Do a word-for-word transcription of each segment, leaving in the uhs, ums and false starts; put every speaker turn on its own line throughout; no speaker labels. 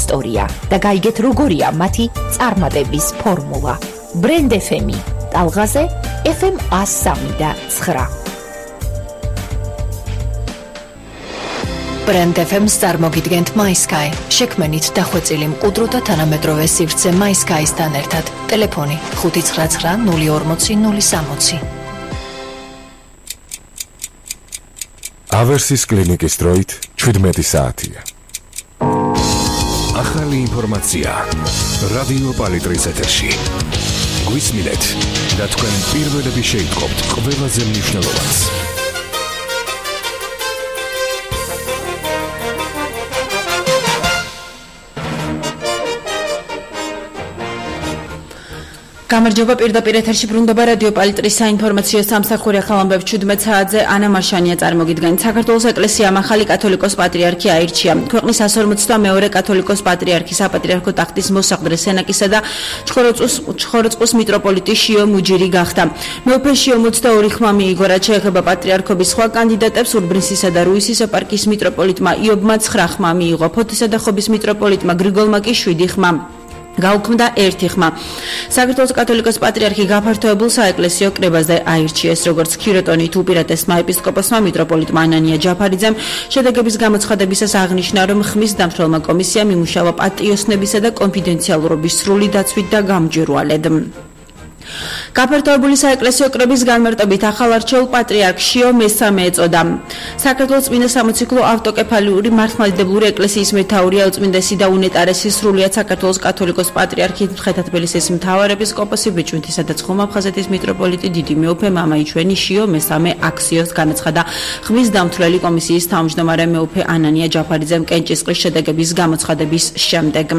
ისტორია და გაიგეთ როგორია მათი წარმატების ფორმულა. Brand ეფ ემი ტალღაზე ეფ ემ ას სამი და ცხრა.
Brand ეფ ემს წარმოგიდგენთ MySky. შექმენით დახვეწილი მყუდრო და თანამედროვე სივრცე MySky-სთან ერთად. ტელეფონი ხუთი ცხრა ცხრა ნული ორმოცი ნული სამოცი.
ავერსის კლინიკის დროით შვიდმეტი საათია.
ახალი ინფორმაცია რადიო პალიტრის ეთერში. გვისმინეთ და თქვენ პირველები შეიტყობთ ყველაზე მნიშვნელოვანს.
გამარჯობა, პირდაპირ ეთერში ბრუნდება რადიო პალიტრის საინფორმაციო სამსახური ახალ ამბებს შვიდმეტ საათზე ანა მარშანია წარმოგიდგენთ. საქართველოს ეკლესიამ ახალი კათოლიკოს პატრიარქი აირჩია. ქვეყნის εκατს ორმოცდამეორე კათოლიკოს პატრიარქი საპატრიარქო ტახტის მოსაყდრე სენაკისა და ჩხოროწყუს მიტროპოლიტი შიო მუჯირი გახდა. მეუფე შიო ოცდაორი ხმა მიიღო, რაც შეეხება პატრიარქობის სხვა კანდიდატებს. ურბნისისა და რუისის ეპარქიის მიტროპოლიტმა იობმა ცხრა ხმა მიიღო. ფოთისა და ხობის მიტროპოლიტმა გრიგოლმა კი შვიდი ხმა. გაუქმდა ერთი ხმა. საქართველოს კათოლიკოს პატრიარქი გაფართოებულ საეკლესიო კრებაზე აირჩიეს, როგორც ქიროტონით უპირატესმა ეპისკოპოსმა მიტროპოლიტმა ანანია ჯაფარიძემ შედეგების გამოცხადებისას აღნიშნა, რომ ხმის დამცველმა კომისიამ იმუშავა პატიოსნებისა და კონფიდენციალურობის სრული დაცვით და გამჭვირვალედ. გაფართოებული საეკლესიო კრების განმარტებით ახალ არჩეულ პატრიარქ შიო მესამე ეწოდა. საქართველოს წმინდა სამოციქულო ავტოკეფალიური მართლმადიდებლური ეკლესიის მეთაურია უწმინდესი და უნეტარესი სრულიად საქართველოს კათოლიკოს პატრიარქი მცხეთა-თბილისის მთავარეპისკოპოსი ბიჭვინთისა და ცხუმა-აფხაზეთის მიტროპოლიტი დიდი მეუფე მამაიჩვენი შიო მესამე აქციოს განაცხადა ხმის დამცვლელი კომისიის თავმჯდომარე მეუფე ანანია ჯაფარიძემ კენჭისყრის შედეგების გამოცხადების შემდეგ.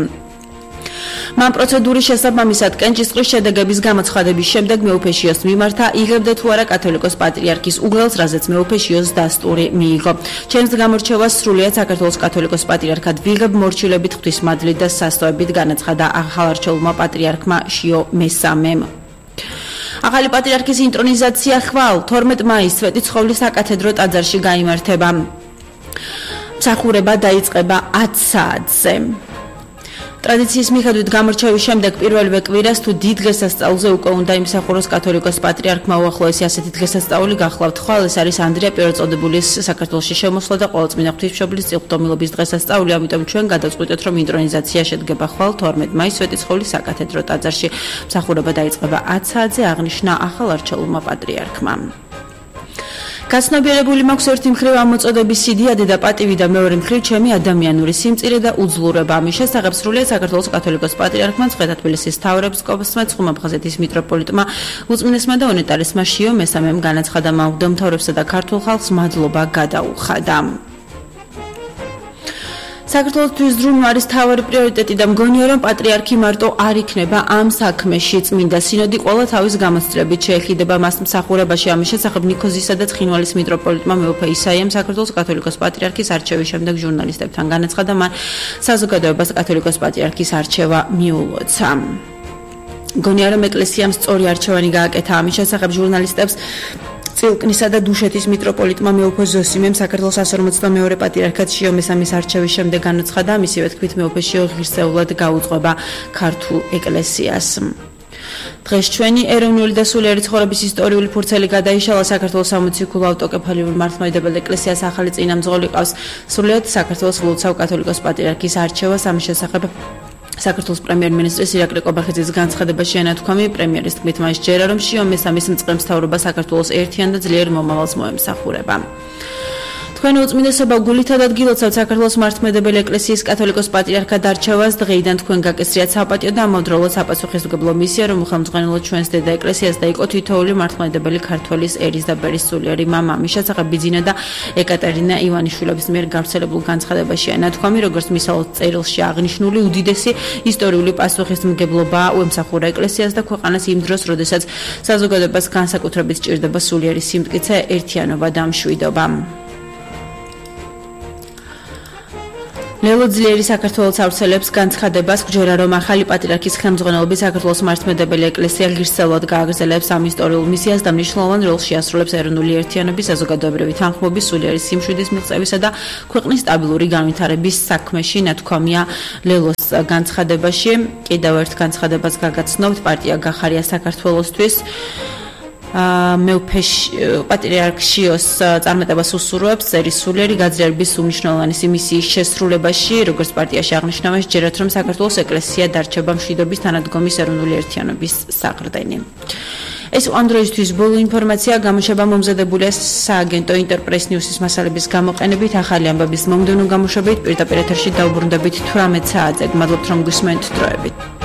მან პროცედურის შესაბამისად კენჭისყრის შედეგების გამოცხადების შემდეგ მეუფე შიოს მიმართა იღებდა თუ არა კათოლიკოს პატრიარქის უგელს, რაზეც მეუფე შიოს დასტური მიიღო. ჩემს გამორჩევას სრულიად საქართველოს კათოლიკოს პატრიარქად ვიღებ მორჩილებით, ღვთისმადლით და სასწაობით, განაცხადა ახალარჩეულმა პატრიარქმა შიო მესამემ. ახალი პატრიარქის ინტრონიზაცია ხვალ თორმეტ მაისს სვეტიცხოვლის საკათედრო ტაძარში გაიმართება. მსახურება დაიწყება ათ საათზე. ტრადიციის მიხედვით გამორჩევის შემდეგ პირველივე კვირას თუ დიდ დღესასწაულზე უკვე უნდა იმსახუროს კათოლიკოს პატრიარქმა უახლოესი ასეთი დღესასწაული გახლავთ. ხვალ ეს არის ანდრია პირველწოდებულის საქართველოში შემოსვლა და ყოველწმინდა ღვთისმშობლის წილხდომილობის დღესასწაული, ამიტომ ჩვენ გადავწყვიტეთ, რომ ინტრონიზაცია შედგება ხვალ თორმეტ მაისს სვეტიცხოვლის საკათედრო ტაძარში. მსახურება დაიწყება ათ საათზე, აღნიშნა ახალარჩეულმა პატრიარქმა. გაცნობიერებული მაქვს ერთი მხრივ ამოწოდების სიდიადე და პატივი და მეორე მხრივ ჩემი ადამიანური სიმწირე და უძლურება. ამის შესახებ სრულიად საქართველოს კათოლიკოს პატრიარქმა მცხეთა-თბილისის მთავარეპისკოპოსმა ცხუმა-აფხაზეთის მიტროპოლიტმა უწმინდესმა და უნეტარესმა შიო მესამემ განაცხადა, მღვდელმთავრებსა და ქართულ ხალხს მადლობა გადაუხადა. საქართველოსთვის დრუნვა არის თავარი პრიორიტეტი და მგონია, რომ პატრიარქი მარტო არ იქნება ამ საქმეში. წმინდა სინოდი ყველა თავის გამოცდილებით შეეხიდება მას მსახურებაში. ამის შესახებ ნიქოზისა და ცხინვალის მიტროპოლიტმა მეუფე ისაიამ საქართველოს კათოლიკოს პატრიარქის არჩევის შემდეგ ჟურნალისტებთან განაცხადა, მან საზოგადოებას კათოლიკოს პატრიარქის არჩევა მიულოცა. მგონია, რომ ეკლესიამ სწორი არჩევანი გააკეთა. ამის შესახებ ჟურნალისტებს წილკნისა და დუშეთის მიტროპოლიტმა მეუფე ზოსიმემ საქართველოს εκατს ორმოცდამეორე პატრიარქად შიო მესამის არჩევის შემდეგ განაცხადა, მისივე თქმით მეუფე შიო ღირსეულად გაუძღვება ქართულ ეკლესიას. დღეს ჩვენი ეროვნული და სულიერი ცხოვრების ისტორიული ფურცელი გადაიშალა. საქართველოს სამოციქულო ავტოკეფალიური მართლმადიდებელ ეკლესიას ახალი წინამძღოლი ყავს. სრულიად საქართველოს ვლოცავ კათოლიკოს პატრიარქის არჩევას. ამის შესახებ საქართველოს პრემიერ-მინისტრის ირაკლი კობახიძის განცხადებაში ენათქვამი, პრემიერის თქმით, მას ჯერა, რომ შიო მესამის მწყემსთავრობა საქართველოს ერთიან და ძლიერ მომავალს მოემსახურება. თქვენ უწმინდესობა გულით ადგილოცავთ საქართველოს მართლმადიდებელი ეკლესიის კათოლიკოს პატრიარქად არჩევას. დღეიდან თქვენ გაკისრიათ საპატიო და ამავდროულად საპასუხისმგებლო მისია, რომ უხელმძღვანელოთ ჩვენს დედა ეკლესიას და იყო თითოეული მართლმადიდებელი ქართველის ერის და ბერის სულიერი მამა. ამის შესახებ ბიძინა და ეკატერინა ივანიშვილების მიერ გავრცელებულ განცხადებაში ენათქვამი, როგორც მისალოთ წერილში აღნიშნული, უდიდესი ისტორიული პასუხისმგებლობა უემსახურა ეკლესიას და ქვეყანას იმ დროს, როდესაც საზოგადოებას განსაკუთრებით სჭირდება სულიერი სიმტკიცე, ერთიანობა და მშვიდობა. ლელო ძლიერი საქართველოს ავრცელებს განცხადებას, გჯერა რომ ახალი პატრიარქის ხელმძღვანელობით საქართველოს მართლმადიდებელი ეკლესია ღირსეულად გააგრძელებს ამ ისტორიულ მისიას და მნიშვნელოვან როლს შეასრულებს ეროვნული ერთიანობის, საზოგადოებრივი თანხმობის, სულიერი სიმშვიდის მიღწევისა და ქვეყნის სტაბილური განვითარების საქმეში, ნათქვამია ლელოს განცხადებაში. კიდევ ერთ განცხადებას გაგაცნობთ, პარტია გახარია საქართველოსთვის მეუფე პატრიარქ-შიოს წარმატებას უსურვებს სერიისულიერი გაძლიერების უმნიშვნელოვანესი მისიის შესრულებაში, როგორც პარტიაში აღნიშნავენ, ჯერათ რომ საქართველოს ეკლესია დარჩება მშვიდობის, თანადგომის, ეროვნული ერთიანობის საყრდენი. ეს ამ დროისთვის ბოლო ინფორმაცია გამოშვება მომზადებულია სააგენტო ინტერპრეს ნიუსის მასალების გამოყენებით, ახალი ამბების მომდევნო გამოშვებით, პირდაპირ ეთერში დაუბრუნდებით თვრამეტ საათზე. მადლობთ რომ გვისმენთ დროებით.